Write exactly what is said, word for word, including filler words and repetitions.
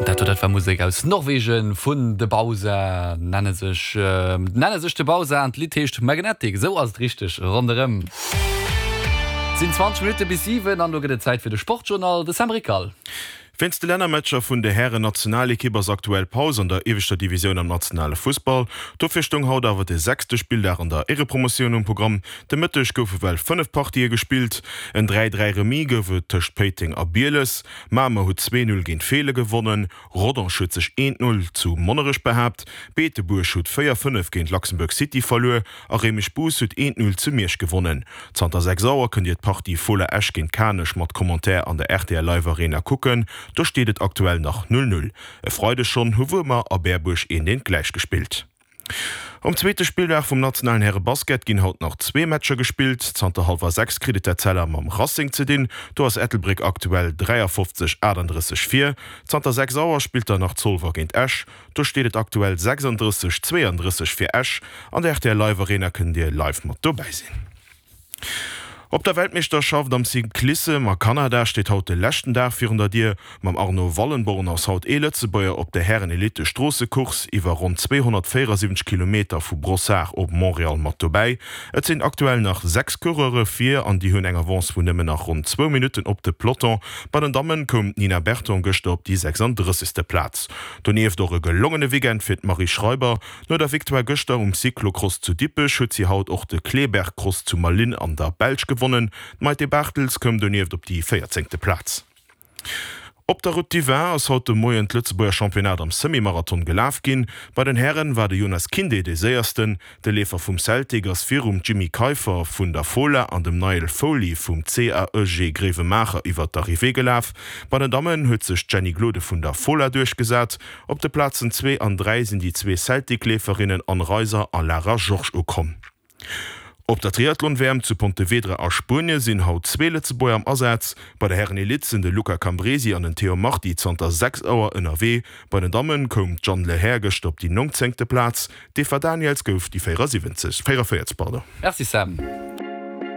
Dat dat war Musek aus Norwegen vun The Bausa nenne sech äh, nenne sech The Bausa an d'Lidd heescht Magnetic sou ass et richteg ronderëm. Sinn zwanzeg Minutte bis siwen an do gëtt et Zäit fir de Sportjournal de Sam Rickal. Wéinst de Lännermatcher vun der Hären-Nationalekipp ass aktuell Paus an der ieweschter Divisioun am nationale Fussball. Dofir stoung haut awer de sechste Spilldag an der Éierepromotioun um Programm. De Mëtteg goufe well fënnef Partië gespillt. En dräi dräi Remis gouf et tëscht Péiteng a Bieles. Mamer huet zwee Null géint Feelen gewonnen. Rodange huet sech eent Null zu Monnerech behaapt. Beetebuerg huet véier fënnef géint Luxembourg City verluer a Réimech-Bous huet eent Null zu Miersch gewonnen. Zanter sechs Auer kënnt Dir d'Partie Fola Esch géint Kanech mat Commentaire an der rtl Live Arena kucken. Do steet et aktuell nach null null. E Freideg schonn hu Wuermer a Berbuerg eent eent gläich gespillt. Um zweete Spilldag vum nationalen Häre-Basket ginn haut nach zwee Matcher gespillt. Zanter hallwer sechs kritt et d'Etzella mam Racing ze dinn. Do ass Ettelbréck aktuell dräiafofzeg aachtanddrësseg vir. Zanter sechs Auer spillt dann nach Zolwer géint Esch. Do steet et aktuell sechsanddrësseg zweeandrësseg fir Esch. An der rtl Live Arena kënnt Dir live mat dobäi sinn. Op der Weltmeeschterschaft am Cyclissem a Kanada steet haut de leschten Dag virun der Dier. Mam Arno Wallenborn ass haut ee Lëtzebuerger op der Hären-Elite-Stroossecourse iwwer ronn zweehonnertvéierasiwwenzeg Kilometer vu Brossard op Montréal mat dobäi. Et sinn aktuell nach sechs Coureure vir an déi hunn eng Avance vun nëmmen nach ronn zwou Minutten op de Peloton. Bei den Dammen koum d'Nina Berton gëschter op déi sechsanddrëssegste Plaz. Donieft och e gelongene Weekend fir d'Marie Schreiber. No der Victoire gëschter um Cyclocross zu Dippech huet si haut och de Kleberg-Cross zu Malines an der Belsch gewonnen. D'Maite Bartels koum donieft op déi véierzéngte Plaz. Op der Route du Vin ass haut de Moien d'Lëtzebuerger Championnat am Semi-Marathon gelaf ginn. Bei den Hären war de Jonas Kinde dee Séiersten. De Leefer vum Celtic ass virum Jimmy Keiffer vun der Fola an dem Niall Foley vum C A E G Gréiwemaacher iwwer d'Arrivée gelaf. Bei den Dammen huet sech d'Jenny Glode vun der Fola duerchgesat. Op de Plazen zwee an dräi sinn déi zwee Celtic-Leeferinnen Anne Reiser a Lara Georges ukomm. Op der Triathlon-W M zu Pontevedra a Spuenie sinn haut zwee Lëtzebuerger am Asaz. Bei der Hären-Elite sinn de Luca Cambresi an den Théo Marti zanter sechs Auer ënnerwee. Bei den Damme koum d'Jeanne Lehair gëschter op déi nongzéngte Plaz, d'Eva Daniëls gouf déi véierasiwwenzeg, véierundavéierzeg, pardon. Merci Sam.